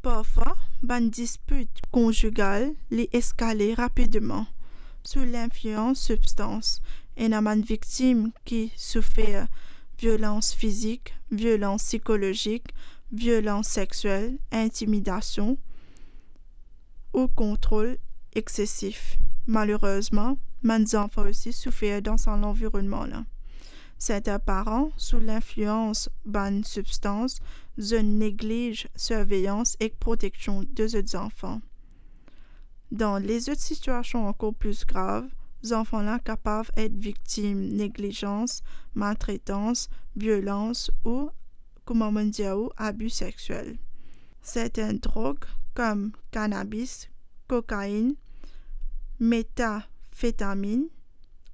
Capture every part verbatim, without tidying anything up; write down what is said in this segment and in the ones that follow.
Parfwa, bann dispit konzigal li eskale rapidman sou linflians sibstans. Ena bann viktim ki soufer violans fizik, violans psikolozik, violans sexiel, intimidasion ou kontrol exsesif. Malerezman, bann zanfan osi soufer dan sa lanvironnman la. Sertin paran, sou linflians bann sibstans, zot negliz sirveyans ek proteksion de zot zanfan. Dan lezot sitiasion ankor pli grav, zanfan la kapav et viktim neglizans, maltretans, violans ou, kouma mo dir ou, abi sexiel. Sertin drog kom kanabis, kokainn, metafetaminn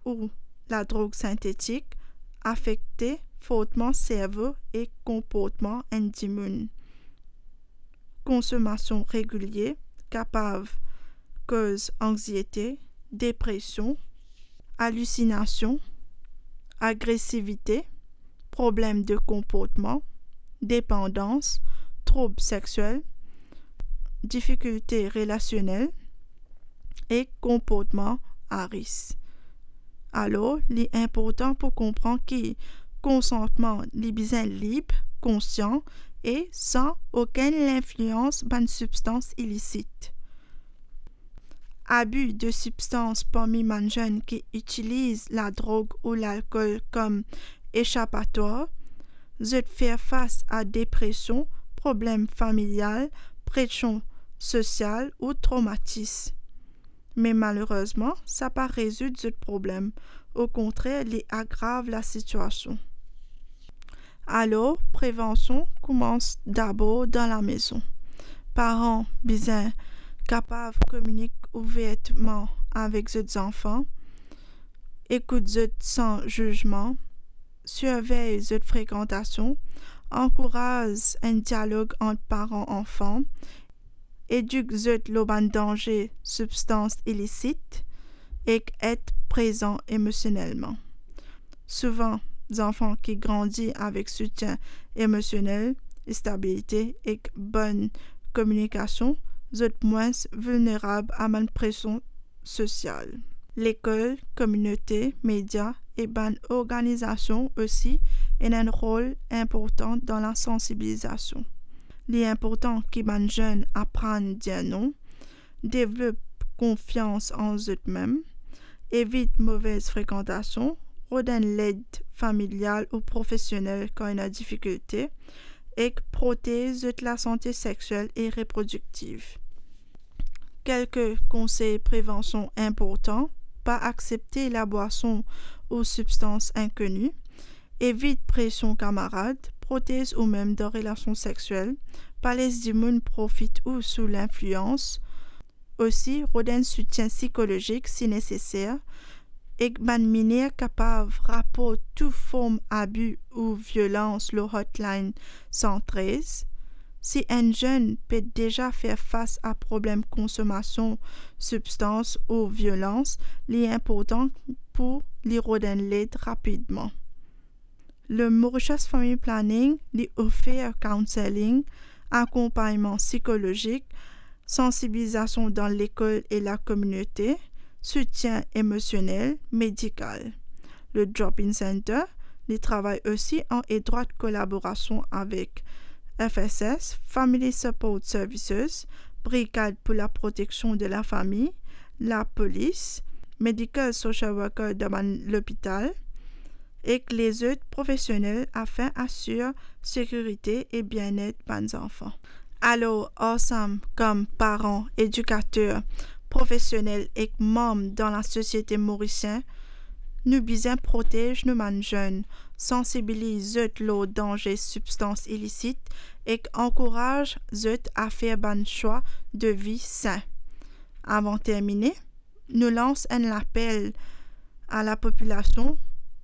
ou ladrog sintetik afekte fortman servo ek konportman enn dimoun. Konsomasion regilie kapav koz anxiete, depresion, alusinasion, agresivite, problem de konportman, depandans, troub sexiel, difikilte relasionel ek konportman a risk. Alor, li inportan pou konpran ki konsantman li bizin lib, konsian e san okenn linflians bann sibstans ilisit. Abi de sibstans parmi bann zenn ki itiliz ladrog ou lalkol kom esapatwar, zot fer fas a depresion, problem familial, presion sosial ou tromatis. Me malerezman, sa pa rezoud zot problem. Okontrer, li agrav lasitiasion. Alor, prevansion koumans dabor dan lamezon. Paran bizin kapav kominik ouvertman avek zot zanfan, ekout zot san zizman, sirvey zot frekantasion, ankouraz enn dialog ant paran-anfan, edik zot lor bann danze sibstans ilisit ek et prezan emosionelman. Souvan, zanfan ki grandi avek soutien emosionel, estabilite ek bonn kominikasion, zot mwins vilnerab a bann presion sosial. Lekol, kominote, media e bann organizasion osi ena enn rol inportan dan lasansibilizasion. Li inportan ki bann zenn aprann dir non, devlop konfians an zotmem, evit movez frekantasion, rod enn led familial ou profesionel kan ena difikilte, ek protez zot lasante sexiel e reprodiktiv. Kelke konsey prevansion inportan: pa aksepte labwason ou sibstans inkoni, evit presion kamarad, protez oumem dan relasion sexiel, pa les dimoun profit ou sou linflians. Osi, rod enn soutien sikolozik si neseser, ek bann miner kapav raport tou form abi ou violans lor hotline san trez. Si enn zenn pe deza fer fas a problem konsomasion sibstans ou violans, li inportan pou li rod enn led rapidman. Le Mauritius Family Planning, li ofer counselling, akonpagnman sikolozik, sansibilizasion dan lekol e lakominote, soutien emosionel, medikal. Le Drop-in Center, li travay osi an etrwat kolaborasion avek F S S, Family Support Services, Brigad pou Laproteksion de Lafami, Lapolis, Medical Social Worker dan bann lopital, ek lezot profesionel afin asir sekirite e bienet bann zanfan. Alor, ansam kom paran, edikater, profesionel ek manm dan lasosiete morisien, nou bizin protez nou bann zenn, sansibiliz zot lor danze sibstans ilisit ek ankouraz zot a fer bann swa de vi sin. Avan termine, nou lans enn lapel a lapopilasion: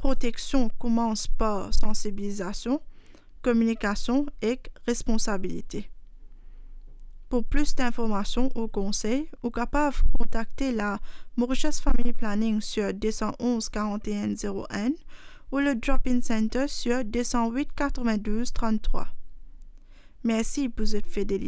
proteksion koumans par sansibilizasion, kominikasion ek responsabilite. Pou plis dinformasion ou konsey, ou kapav kontakte la Mauritius Family Planning sur deux cent onze quarante et un zéro un ou le Drop-in Center sur deux cent huit quatre-vingt-douze trente-trois. Mersi pou zot fidelite.